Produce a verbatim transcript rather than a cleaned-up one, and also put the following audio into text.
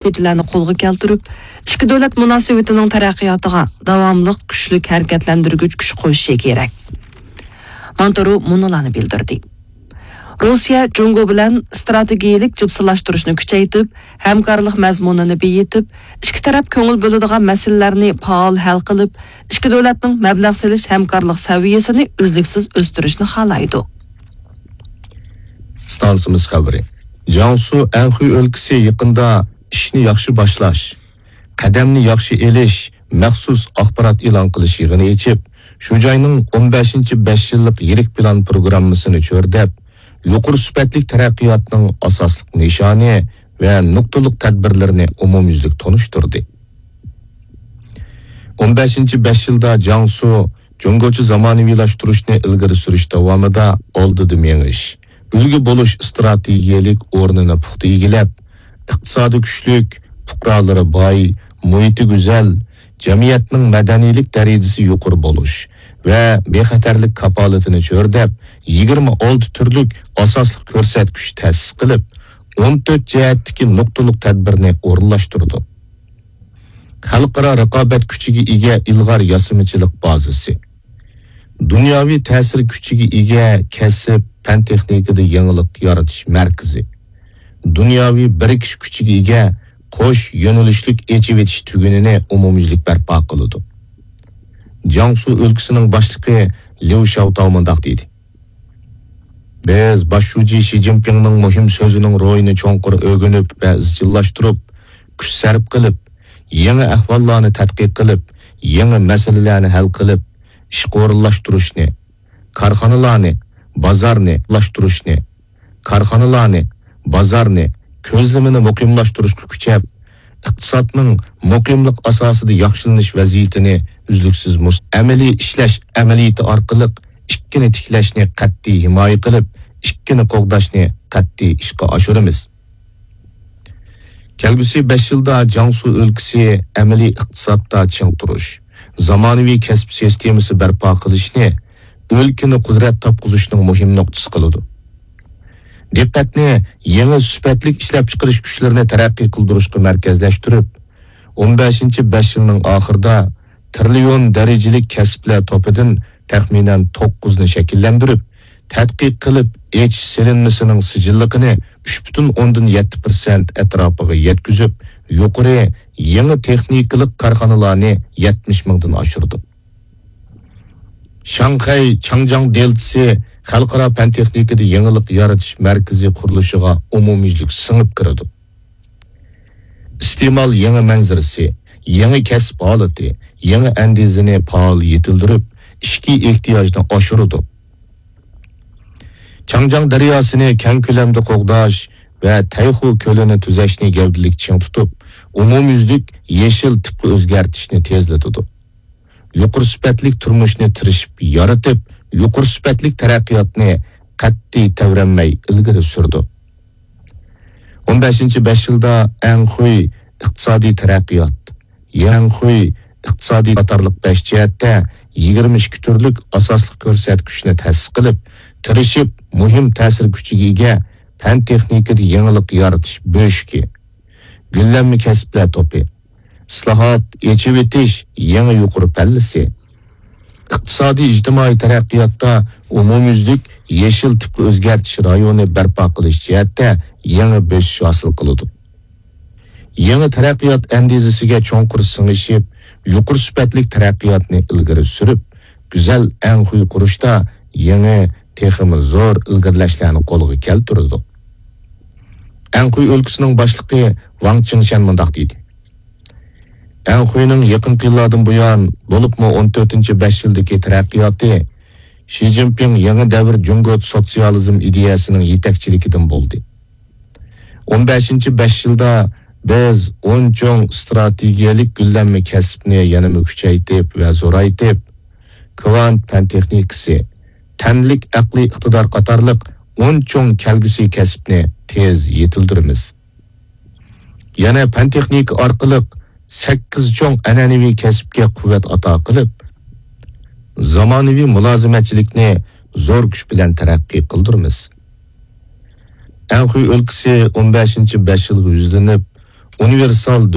نەتىجىلەرنى قولغا كەلتۈرۈپ، ئىككى دۆلەت مۇناسىۋىتىنىڭ تەرەققىياتىغا داۋاملىق كۈچلۈك ھەرىكەتلەندۈرگۈچ كۈچ قوشۇشى كېرەك. مونتېرو مۇنۇلارنى بىلدۈردى. روسىيە جۇڭگو بىلەن ئىستراتېگىيەلىك جىپسىلاشتۇرۇشنى كۈچەيتىپ، ھەمكارلىق مەزمۇنىنى بېيىتىپ، ئىككى تەرەپ كۆڭۈل بۆلىدىغان مەسىلىلەرنى پائال ھەل قىلىپ، ئىككى دۆلەتنىڭ مەبلەغ سېلىش ھەمكارلىق سەۋىيەسىنى ئۈزلۈكسىز ئۆستۈرۈشنى خالايدۇ. ئىستانسىمىز خەۋىرى. جياڭسۇ ئەنخۇي ئۆلكىسى يېقىندا ئىشنى ياخشى باشلاش، قەدەمنى ياخشى ئېلىش مەخسۇس ئاخبارات ئېلان قىلىش يىغىنى ئېچىپ، شۇ جاينىڭ ئون بەشىنچى بەش يىللىق يىرىك پىلان پروگراممىسىنى چۆرىدەپ، يۇقىرى سۈپەتلىك تەرەققىياتنىڭ ئاساسلىق نىشانى ۋە نۇقتىلىق تەدبىرلىرىنى ئومۇميۈزلۈك تونۇشتۇردى. ئون بەشىنچى بەش يىلدا جياڭسۇ جۇڭگوچە زامانىۋىلاشتۇرۇشنى ئىلگىرى سۈرۈش داۋامىدا ئالدىدا مېڭىش، ئۈلگە بولۇش ئىستراتېگىيەلىك ئورنىنى پۇختا ئىگىلەپ، ئىقتىسادى كۈچلۈك، پۇقرالىرى باي، مۇھىتى گۈزەل، جەمئىيەتنىڭ مەدەنىيلىك دەرىجىسى يۇقىرى بولۇش ۋە بىخەتەرلىك كاپالىتىنى چۆرىدەپ، يىگىرمە ئالتە تۈرلۈك ئاساسلىق كۆرسەتكۈچ تەسىس قىلىپ، ئون تۆت جەھەتتىكى نۇقتىلىق تەدبىرنى ئورۇنلاشتۇرىدۇ. خەلقئارا رىقابەت كۈچىگە ئىگە ئىلغار ياسىمىچىلىق بازىسى، دۇنياۋى تەسىر كۈچىگە ئىگە كەسىپ، پەن-تېخنىكىدا يېڭىلىق يارىتىش مەركىزى، دۇنياۋى بىرىكىش كۈچىگە ئىگە قوش يۆنىلىشلىك ئېچىۋېتىش تۈگۈنىنى ئومۇميۈزلۈك بەرپا قىلىدۇ. جياڭسۇ ئۆلكىسىنىڭ باشلىقى ليۇ شياۋتاۋ مۇنداق دېدى: بىز باش شۇجى شى جىنپىڭنىڭ مۇھىم سۆزىنىڭ روھىنى چوڭقۇر ئۆگىنىپ ۋە ئىزچىللاشتۇرۇپ، كۈچ سەرپ قىلىپ، يېڭى ئەھۋاللارنى تەتقىق قىلىپ، يېڭى مەسىلىلەرنى ھەل قىلىپ، ئىشقا ئورۇنلاشتۇرۇشنى، كارخانىلارنى، بازارنى لاشتۇرۇشنى، كارخانىلارنى، بازارنى، كۆزلىمىنى مۇقىملاشتۇرۇشقا كۈچەپ، ئىقتىسادنىڭ مۇقىملىق ئاساسىدا ياخشىلىنىش ۋەزىيىتىنى ئۈزلۈكسىز مۇس-، ئەمەلىي ئىشلەش ئەمەلىيىتى ئارقىلىق ئىككىنى تىكلەشنى قەتئىي ھىمايە قىلىپ، ئىككىنى قوغداشنى قەتئىي ئىشقا ئاشۇرىمىز. كەلگۈسى بەش يىلدا جياڭسۇ ئۆلكىسى ئەمەلىي ئىقتىسادتا چىڭ تۇرۇش، زامانىۋى كەسىپ سىستېمىسى بەرپا قىلىشنى ئۆلكىنى قۇدرەت تاپقۇزۇشنىڭ مۇھىم نۇقتىسى قىلىدۇ. دىققەتنى يېڭى سۈپەتلىك ئىشلەپچىقىرىش كۈچلىرىنى تەرەققىي قىلدۇرۇشقا مەركەزلەشتۈرۈپ، ئون بەشىنچى بەش يىلنىڭ ئاخىرىدا تىرىليون دەرىجىلىك كەسىپلەر توپىدىن تەخمىنەن توققۇزنى شەكىللەندۈرۈپ، تەتقىق قىلىپ ئېچىش سېلىنمىسىنىڭ سىجىللىقىنى ئۈچ پۈتۈن ئوندىن يەتتە پىرسەنت ئەتراپىغا يەتكۈزۈپ، يۇقىرى يېڭى تېخنىكىلىق كارخانىلارنى يەتمىش مىڭدىن ئاشۇردۇق. شاڭخەي چاڭجياڭ دېلتىسى خەلقئارا پەن-تېخنىكىدا يېڭىلىق يارىتىش مەركىزى قۇرۇلۇشىغا ئومۇميۈزلۈك سىڭىپ كىرىدۇ. ئىستېمال يېڭى مەنزىرىسى، يېڭى كەسىپ ھالىتى، يېڭى ئەندىزىنى پائال يېتىلدۈرۈپ، ئىچكى ئېھتىياجنى ئاشۇرىدۇ. چاڭجياڭ دەرياسىنى كەڭ كۆلەمدە قوغداش ۋە تەيخۇ كۆلىنى تۈزەشنى گەۋدىلىك چىڭ تۇتۇپ، ئومۇميۈزلۈك يېشىل تىپقا ئۆزگەرتىشنى تېزلىتىدۇ. يۇقىرى سۈپەتلىك تۇرمۇشنى تىرىشىپ يارىتىپ، يۇقىرى سۈپەتلىك تەرەققىياتنى قەتئىي تەۋرەنمەي ئىلگىرى سۈرىدۇ. ئون بەشىنچى بەش يىلدا ئەنخۇي ئىقتىسادىي تەرەققىيات، يەنخۇي ئىقتىسادىي قاتارلىق بەش جەھەتتە يىگىرمە ئىككى تۈرلۈك ئاساسلىق كۆرسەتكۈچنى تەسىس قىلىپ، تىرىشىپ مۇھىم تەسىر كۈچىگە ئىگە پەن-تېخنىكىدا يېڭىلىق يارىتىش بۆشۈكى، گۈللەنمە كەسىپلەر توپى، ئىسلاھات، ئېچىۋېتىش يېڭى يۇقىرى پەللىسى، ئىقتىسادىي ئىجتىمائىي تەرەققىياتتا ئومۇميۈزلۈك يېشىل تىپقا ئۆزگەرتىش رايونى بەرپا قىلىش جەھەتتە يېڭى بۆسۈش ھاسىل قىلىدۇ. يېڭى تەرەققىيات ئەندىزىسىگە چوڭقۇر سىڭىشىپ، يۇقىرى سۈپەتلىك تەرەققىياتنى ئىلگىرى سۈرۈپ، گۈزەل ئەنخۇي قۇرۇشتا يېڭى، تېخىمۇ زور ئىلگىرىلەشلەرنى قولغا كەلتۈرىدۇ. ئەنخۇي ئۆلكىسىنىڭ باشلىقى ۋاڭ چىڭشەن مۇنداق دېدى: ئەنخۇينىڭ يېقىنقى يىللاردىن بۇيان، بولۇپمۇ ئون تۆتىنچى بەش يىلدىكى تەرەققىياتى شى جىنپىڭ يېڭى دەۋر جۇڭگو سوتسىيالىزم ئىدىيەسىنىڭ يېتەكچىلىكىدىن بولدى. ئون بەشىنچى بەش يىلدا بىز ئون چوڭ ئىستراتېگىيەلىك گۈللەنمە كەسىپنى يەنىمۇ كۈچەيتىپ ۋە زورايتىپ، كۋانت پەن تېخنىكىسى، تەنلىك ئەقلىي ئىقتىدار قاتارلىق ئون چوڭ كەلگۈسى كەسىپنى تېز يېتىلدۈرىمىز. يەنە پەن تېخنىكا ئارقىلىق سەككىز چوڭ ئەنئەنىۋى كەسىپكە قۇۋۋەت ئاتا قىلىپ، زامانىۋى مۇلازىمەتچىلىكنى زور كۈچ بىلەن تەرەققىي قىلدۇرىمىز. ئەنخۇي ئۆلكىسى ئون بەشىنچى بەش يىلغا يۈزلىنىپ، ئۇنىۋېرسال